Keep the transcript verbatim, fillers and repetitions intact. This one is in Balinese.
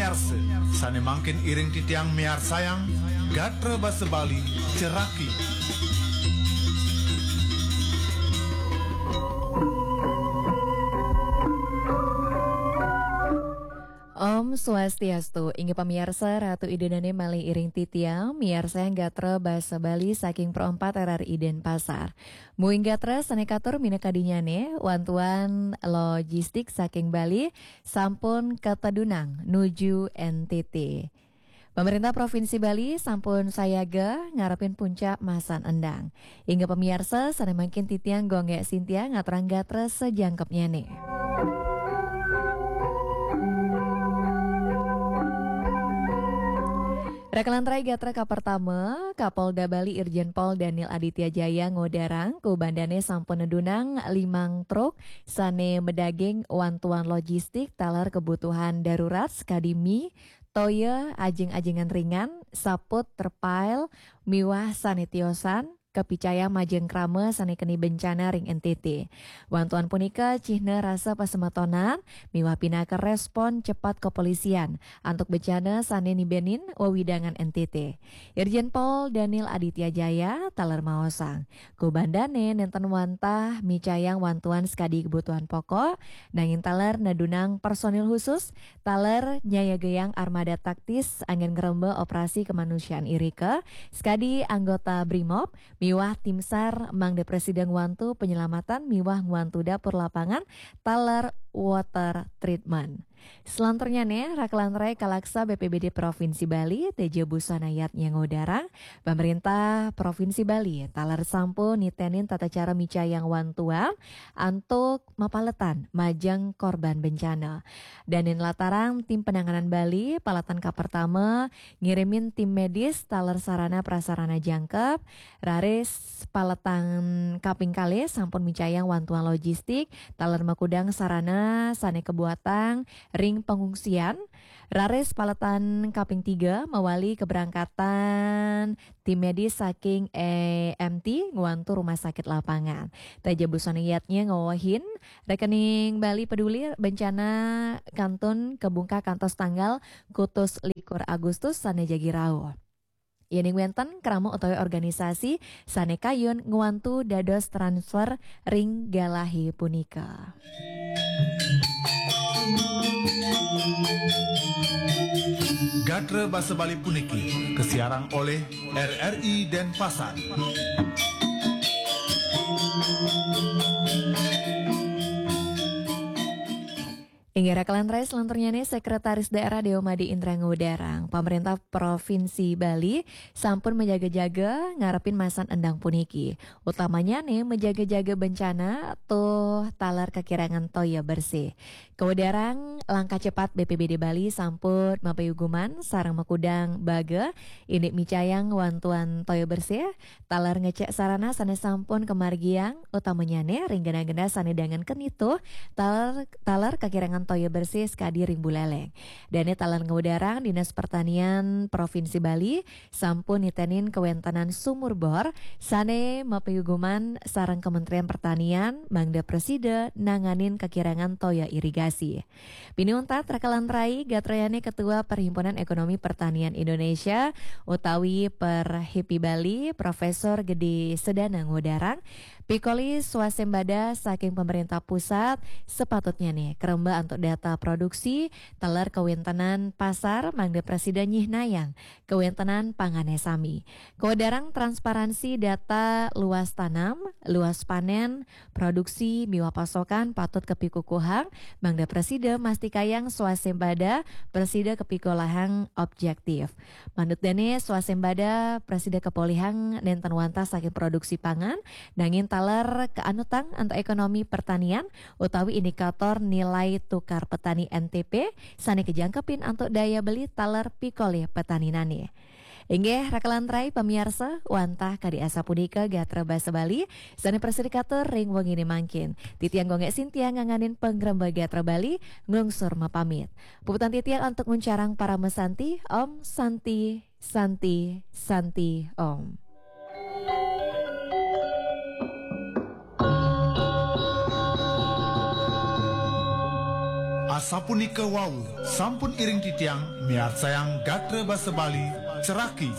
Miarsa, sane mangkin iring titiang miarsayang gatra basa Bali, Ceraki. Om Swastiastu, inggih pamiarsa, Ratu Ida dane malih iring titiang, miarsayang gatra basa Bali saking Pro Empat R R I Denpasar. Muing gatra sane katur minakadinyane, wantuan logistik saking Bali sampun katedunang nuju N T T. Pemerintah Provinsi Bali sampun sayaga ngarepin puncak masan endang. Inggih pamiarsa, sane mangkin titiang Gung Gek Sintia ngaturang gatra sajangkepnyane. Rakalan rai gatra kapertama, Kapolda Bali Irjen Pol Daniel Aditya Jaya ngodarang, kubandane sampun nedunang limang truk sane madaging wantuan logistik taler kebutuhan darurat sakadi mie, toya, ajeng-ajengan ringan, saput, terpail, miwah sane tiosan, kapicayang majeng krama sane keni bencana ring N T T. Wantuan punika cihna rasa pasemetonan miwah pinaka respon cepat kepolisian antuk bencana sane nibenin wewidangan N T T. Irjen Pol Daniel Aditya Jaya taler maosang, kubandane nenten wantah micayang wantuan sakadi kebutuhan pokok, nanging taler nedunang personil khusus, taler nyayagayang armada taktis anggen ngremba operasi kemanusiaan irika, sakadi anggota Brimob, miwah tim SAR mangda prasida ngwantu penyelamatan miwah ngwantu dapur lapangan taler water treatment. Selanturnyane, rakalan rai kalaksa B P B D Provinsi Bali, Teja Busana Yatnya ngodarang, pemerintah Provinsi Bali taler sampun nitenin tata cara micayang wantuan antuk mapaletan majeng korban bencana. Danin latarang tim penanganan Bali, paletan kapertama ngirimin tim medis taler sarana prasarana jangkep, raris paletan kaping kalih sampun micayang wantuan logistik taler makudang sarana sane kabuatang ring pengungsian, raris paletan kaping tiga mawali keberangkatan tim medis saking E M T ngwantu rumah sakit lapangan. Teja Busana Yatnya ngawehin, rekening Bali Peduli Bencana kantun kabungkah kantos tanggal kutus likur Agustus sane jagi rauh. Yening wenten krama utawi organisasi sane kayun ngwantu dados transfer ring galahe punika. Gatra basa Bali puniki kasiarang olih R R I Denpasar. Inggih rakalan rai, selanturnyane Sekretaris Daerah Dewa Made Indra ngudarang, pemerintah Provinsi Bali sampun majaga-jaga ngarepin masan endang puniki. Utamanyane majaga-jaga bencana tuh taler kakirangan toya bersih. Kawedarang langkah cepat B P B D Bali sampun mapayuguman sareng makudang baga indik micayang wantuan toya bersih, taler ngecek sarana sane sampun kamargiang, utamanyane ring genah-genah sane dangan kenitu, taler, taler kakirangan toya bersih sakadi ring Buleleng. Dane taler ngudarang Dinas Pertanian Provinsi Bali sampun nitenin kawentenan sumur bor sane mapayuguman sareng Kementerian Pertanian mangda prasida nanganin kakirangan toya irigasi. Pinih untat rakalan rai, gatrayane Ketua Perhimpunan Ekonomi Pertanian Indonesia utawi Perhipi Bali, Profesor Gede Sedana ngudarang, pikoli swasembada saking pemerintah pusat, sapatutnyane karemba antuk data produksi, taler kawentenan pasar mangda prasida nyihnayang kawentenan pangane sami. Kawedarang transparansi data luas tanam, luas panen, produksi miwah pasokan patut kapikukuhang, mangda prasida mastikayang swasembada prasida kapikolihang objektif. Manut dane, swasembada prasida kapolihang nenten wantah saking produksi pangan, nanging taler kaanutang antuk ekonomi pertanian utawi indikator nilai tukar petani N T P sane kajangkepin antuk daya beli taler pikolih petaninane. Inggih, rakalan rai pamiarsa, wantah kadi asapunika gatra basa Bali sane prasida katur ring wengine mangkin. Titiang Gung Gek Sintia nganganin pangremba gatra Bali, nglungsur mapamit. Puputang titiang antuk nguncarang parama santi, Om Santi, Santi, Santi, Om. Asapunika wau, sampun iring titiang miarsayang gatra basa Bali, ceraki.